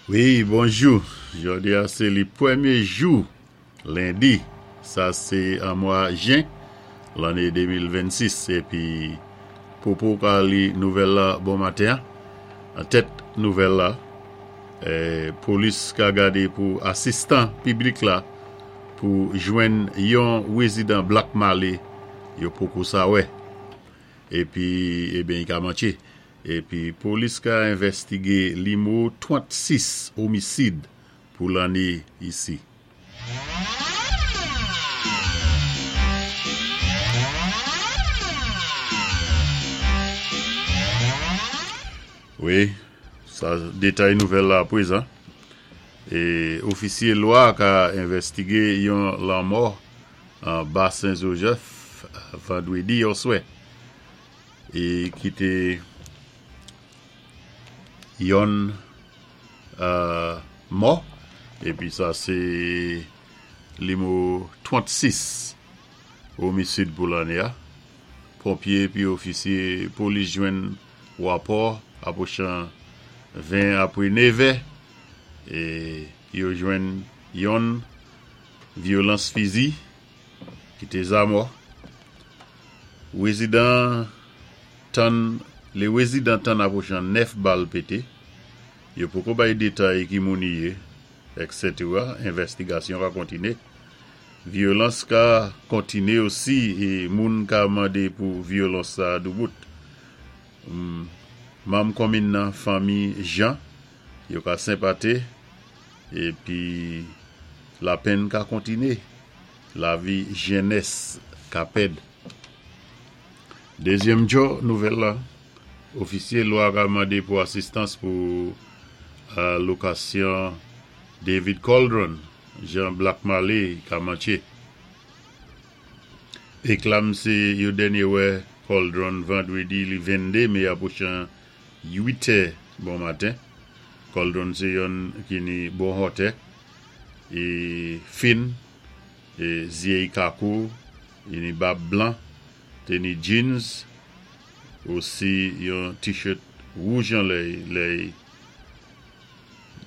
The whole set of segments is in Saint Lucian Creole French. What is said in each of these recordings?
Wi, bonjou. Jòdi a sé li pwémyé jou lendi, sa sé an mwa jen lanné 2026 épi Popo ka li nouvèl la bon maten an. An tèt nouvèl la, polis ka gadé pou asistan piblik la pou jwenn yon rézidan Black Marley yo poko sa wè. Épi, eben i ka mantché. Epi polis ka envèstige limo 36 omisid pou lanne isi. Wi, sa detay nouvèl la aprezan. E ofisye lwa ka envèstige yon lanmò an Ba Sen Jozèf vandredi oswè. E ki te yonn mò. Epi sa se limo 36 omisid pou lanne a. Ponpye epi ofisye polis jwenn wapò apwochan 20 apre nevè e yo jwenn yonn vyolans fizi ki te zamò. Rezidan tann Le rezidan tann apwochan 9 bal pete, yo poko bay detay ki moun i ye, etc. Envèstigasyon ka kontine. Vyolans ka kontine osi e moun ka mande pou vyolans sa doubout. Manm konmin nan fanmi Jean yo ka senpate epi lapenn ka kontine. Lavi jenès ka pèd. Dezyèm djò nouvèl la, ofisye lwa ka mande pou asistans pou lokasyon David Coldren, jan Black Marley ka mantche. Eklam se yo dènye wè Coldren vandredi li 22 me apwochan 8 tè bon maten. Coldren se yonn ki ni bon hòtè e fin e zyey kakou e ni bab blan te ni jeans osi yon t-shirt wouj anlè lè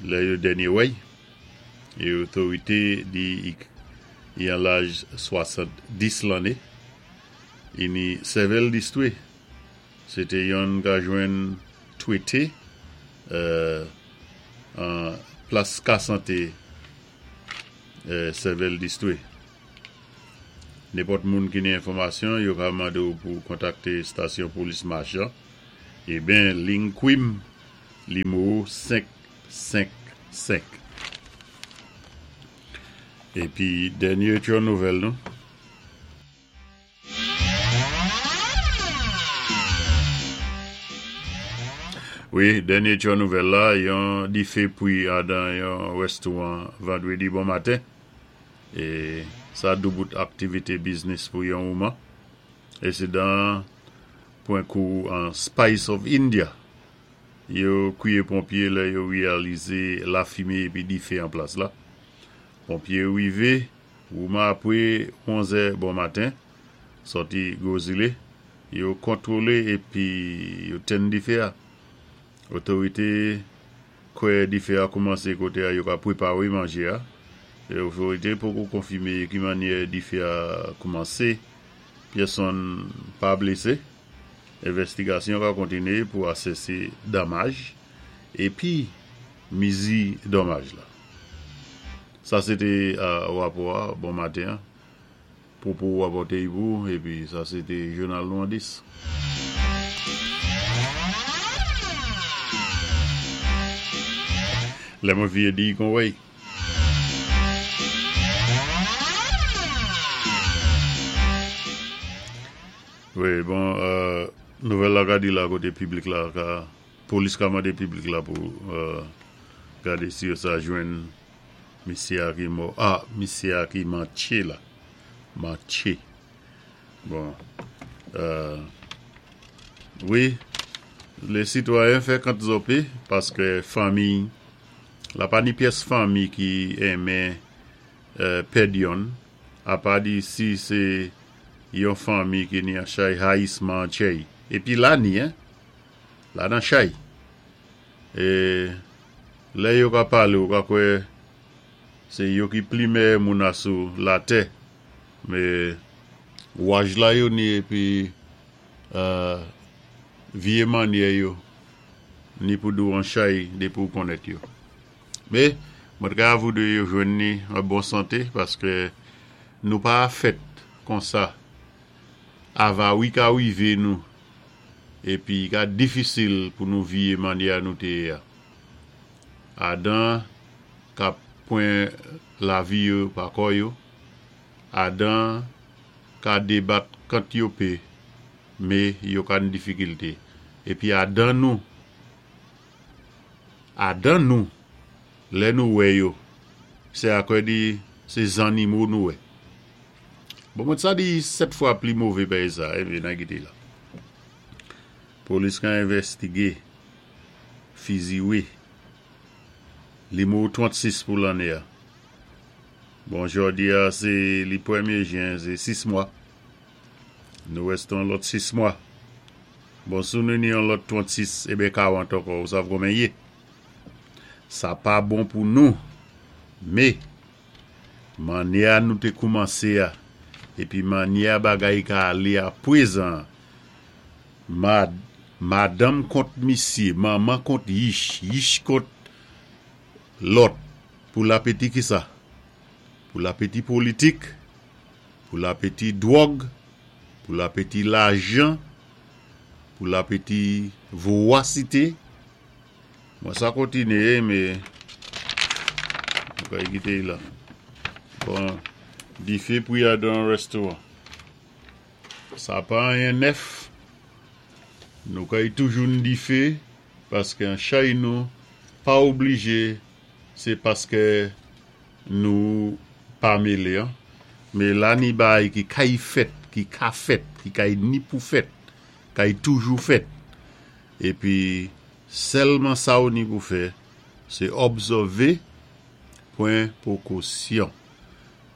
lè yo dènye wèy e otorite di i an laj 70 lanne e ni sèvèl distwe se te yonn ka jwenn twete an plas ka sante sèvèl distwe. Nenpòt moun ki ni enfòmasyon yo ka mande w pou kontakte stasyon polis Machan eben ling kwim limo 5 5 5. Epi dènye tchò nouvèl nou. Wi, dènye tchò nouvèl la, yon dife pwi adan yon rèstouwan vandredi bon maten. E sa doubout aktivite biznis pou yon mouman. Ensidan an pwen kou an Spice of India. Yo kwiye ponpye lè yo reyalize lafime epi dife an plas la. Ponpye rive Wouman apre onzè bon maten, sòti Gwo Zile, yo kontwole epi yo tenn dife a. Otorite kwè dife a koumanse kote a yo ka prepare manje a. Otorite poko konfime ki mannyè dife a koumanse, pyèsonn pa blese. Envèstigasyon ka kontine pou asese damaj epi mizi dòmaj la. Sa se te rapò a bon maten an. Pwopo rapòte y pou epi sa se te jounal nou an 10. Lè mwen vye di kon wey. Wi bon nouvèl la ka di la kote piblik la ka polis ka mande piblik la pou gade si yo sa jwenn Misye a ki mò ah misye a ki mantche la mantche bon euh wi le sitwayen fè kant zope paske fanmi la pa ni pyès fanmi ki enmen pèd yonn apa di si se yon fanmi ki ni an chay hayisman an tchèy epi la ni hein la nan chay e. Lè yo ka palé ou ka kwè sé yo ki pli mèyè moun asou latè, mé waj la yo ni épi vyé mannyè yo ni pou di-w an chay dépi ou konnèt yo. Mé mwen t ka voudwé yo jwenn ni an bon santé paské nou pa fèt konsa. Avawi ka wivé nou épi i ka difisil pou nou viyé mannyè a nou té yé a. Adan k'ap pwan lavi yo pa kò yo, adan ka débat kant yo pé, mé yo ka n difikilté. Épi adan nou, adan nou, lè nou wè yo, sé akwè di sé zannimo nou wè. Bon mwen sa di 7 fwa pli mové péyi sa, épi nan kité la. Polis ka envèstigé fiziwé limwo 36 pou lanné a. Bon jòdi a sé li pwémyé jen sé 6 mwa. Nou rèste yon lòt 6 mwa. Bon si nou ni yon lòt 36 eben 40 ankò ou sav konbyen yé. Sa pa bon pou nou mé mannyè a nou té koumansé a épi mannyè a bagay ka alé a pwézan an Madanm kont misye, manman kont yich, yich kont lòt, pou lapeti kisa? Pou lapeti politik, pou lapeti dwòg, pou lapeti lajan, pou lapeti vowasite. Bon sa kontinye me nou ka kite la. Bon, dife pwi a dan restoran. Sa pa anyen nèf, nou kay toujou n dife paske an chay nou pa oblije se paske nou pa mele an me la ni baay ki kay fèt ki ka fèt ki kay ni pou fèt kay toujou fèt epi sèlman sa ou ni pou fè se òbsève pwen pwokosyon.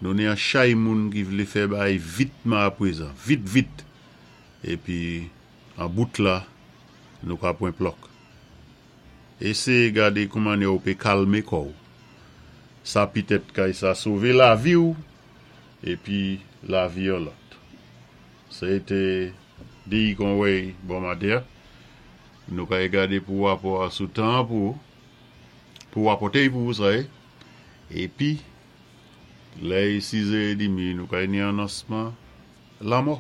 Nou ni an chay moun ki vlé fè baay vitman aprezan, vit vit, épi an bout la, nou ka pwen plòk. Éséyé gadé koumannyè ou pé kalmé kò-w. Sa pitèt kay sa sové lavi-w épi lavi yon lòt. Sé té Diy Conway bon maten an. Nou kay gade pou wapò a sou tan an pou ou, pou wapòte-y pou ou sa yé, épi Lè e sizè edimi nou kay ni anonsman lanmò.